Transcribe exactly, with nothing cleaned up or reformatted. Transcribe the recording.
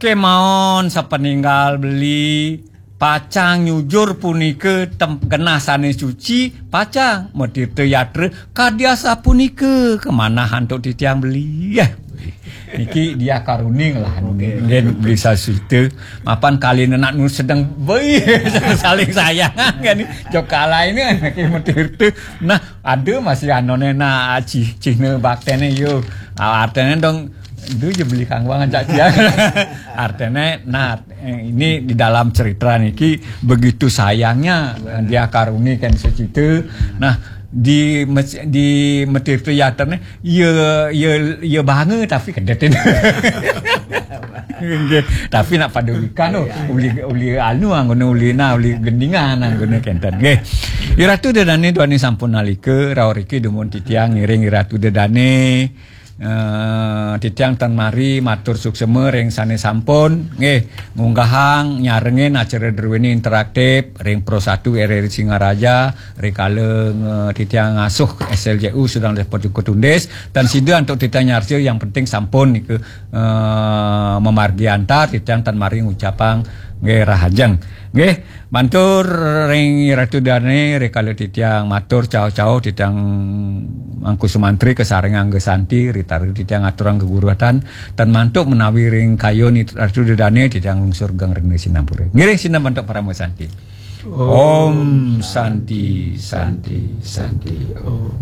Kemawon sapaninggal beli pacang nyujur punika tem-, genah sané suci, pacang matirta yatra kadya sapunika kamanah antuk titiang beli. Yah. Niki dia karuning lah, nggih, beli sasita. Mapan kali nenak nu sedeng beli saling sayangan kan. Jok kalai ini kan niki matirta. Nah, ada masih anoné nah cih-, cihna bakténé yo. Ah, artinya dong itu je beli kangwang ajak dia. Artinya nah, eh, ini di dalam cerita niki begitu sayangnya, eh, dia karuni kan sasita. Nah, di mes-, di Metirta Yatra nih, ya, ya, ya bangga tapi kedet ini. Nggih. Tapi nak pada wikan tu, uli, uli anu anggona uli na, uli gendingan anggona kenten. Nggih. Iratu Dedane duani sampun nalika, rauh riki dumun titiang ngiring Iratu Dedane. Eh, titiang tan mari matur suksema ring sane sampun nggih ngunggahang nyarengin acara Druwini Interaktif ring Pro satu R R I Singaraja, rikala nge-, titiang ngasuh S L J U sedang dipot jukut undis, tan sida antuk titiang nyarja yang penting sampun nika, eh, mamargi antar, titiang tan mari ngucapang nggih rahajeng. Nggih, mantur ring Ratu Dane, rikala titiang matur cauh-cauh titiang Mangku Sumantri kasarengin angga santi, ritari titiang aturang geguruhatan, tan mantuk menawi ring kayun Ratu Dane titiang lungsur geng rena sinampura. Ngiring sinambantuk parama santi. Om Santi, Santi, Santi, Om.